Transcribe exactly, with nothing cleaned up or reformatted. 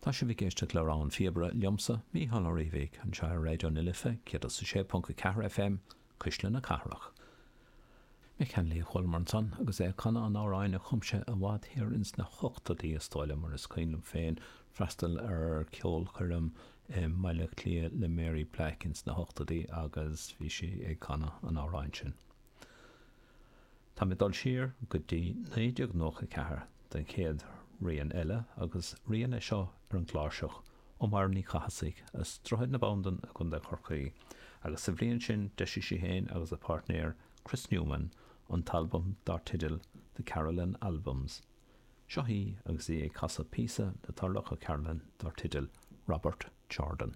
Tá sibh ag éisteacht le Rogha an Phíobaire liomsa Mícheál Ó Riabhaigh anseo ar Raidió na Life céad is a sé ponc a ceathair FM Cuisle na Cathrach. Mick Hanley a chualamar ansan agus é ag canadh an amhráin a chum sé i bhfad thiar ins na hochtóidí is dóigh liom mar is cuimhin liom féin freastal ar ceolchoirm i mBaile Átha Cliath le Mary Black ins na hochtóidí agus bhí sí ag canadh an amhráin sin. Tá mé dul siar go dtí naoi déag nócha ceathair den chéad rian eile agus rian é seo ar an gcláirseach ó Mháire Ní Chathasaigh as Droichead na Bandan i gContae Chorcaí agus sa bhliain sin d'eisigh sí féin agus a páirtnéir Chris Newman an t-albam dar teideal The Carolan Albums. Seo í agus í ag casadh píosa le Turlough O'Carolan dar teideal Robert Jordan.